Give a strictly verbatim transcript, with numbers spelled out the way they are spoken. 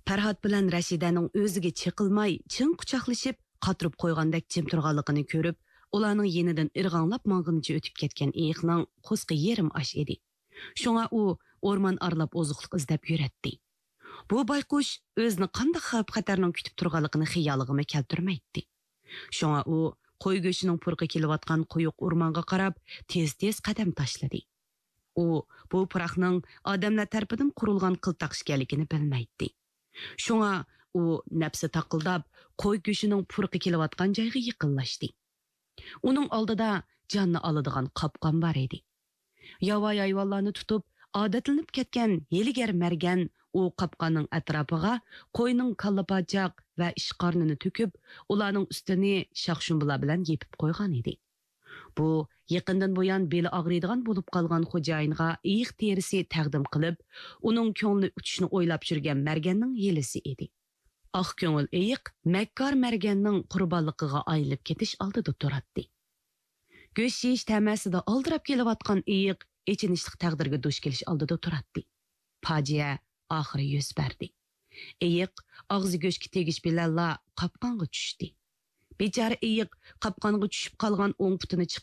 پەرھات بىلەن رەشىدەنىڭ ئۆزىگە چېقىلماي، چىڭ قۇچاقلىشىپ، قاتۇرۇپ قويغاندەك جىم تۇرغانلىقىنى كۆرۈپ، ئۇلارنىڭ يېنىدىن ئىرغاڭلاپ ماڭغىنىچە ئۆتۈپ كەتكەن ئېيىقنىڭ قورسىقى يېرىم ئاش ئىدى. شۇڭا ئۇ ئورمان ئارىلاپ ئوزۇقلۇق ئىزدەپ يۈرەتتى. بۇ بايقۇش ئۆزىنى قانداق خەۋپ-خەتەرنىڭ كۈتۈپ تۇرغانلىقىنى خىيالىغىمۇ كەلتۈرمەيتتى. شۇڭا ئۇ قوي گۆشىنىڭ پۇرىقى كېلىۋاتقان قويۇق ئورمانغا قاراپ تېز-تېز قەدەم تاشلىدى. ئۇ بۇ پۇراقنىڭ ئادەملەر تەرىپىدىن قۇرۇلغان قىلتاق ئىكەنلىكىنى بىلمەيتتى. شۇڭا ئۇ نەپسى تاقىلداپ، قوي گۆشىنىڭ پۇرىقى كېلىۋاتقان جايغا يېقىنلاشتى. ئۇنىڭ ئالدىدا جاننى ئالىدىغان قاپقان بار ئىدى. ياۋايى ھايۋانلارنى تۇتۇپ، ئادەتلىنىپ كەتكەن ھىيلىگەر مەرگەن ئۇ قاپقاننىڭ ئەتراپىغا قوينىڭ كاللا پاچاق ۋە ئىچ قارنىنى تۆكۈپ، ئۇلارنىڭ ئۈستىنى شاخشۇمبىلار بىلەن يېپىپ قويغان ئىدى. بۇ يېقىندىن بۇيان بېلى ئاغرىيدىغان بولۇپ قالغان خوجايىنغا ئېيىق تېرىسى تەقدىم قىلىپ، ئۇنىڭ كۆڭلىنى ئۇتۇشنى ئويلاپ يۈرگەن مەرگەننىڭ ھىيلىسى ئىدى. ئاق كۆڭۈل ئېيىق مەككار مەرگەننىڭ قۇربانلىقىغا ئايلىنىپ كېتىش ئالدىدا تۇراتتى. گۆش يېيىش تەمەسىدە ئالدىراپ كېلىۋاتقان ئېيىق ئېچىنىشلىق تەقدىرگە دۇچ كېلىش ئالدىدا تۇراتتى. پاجىئە ئاخىرى يۈز بەردى. ئېيىق ئاغزى گۆشكە تېگىش بىلەنلا قاپقانغا چۈشتى. بىچارە ئېيىق قاپقانغا چۈشۈپ قالغان ئوڭ پۇتىنى چىق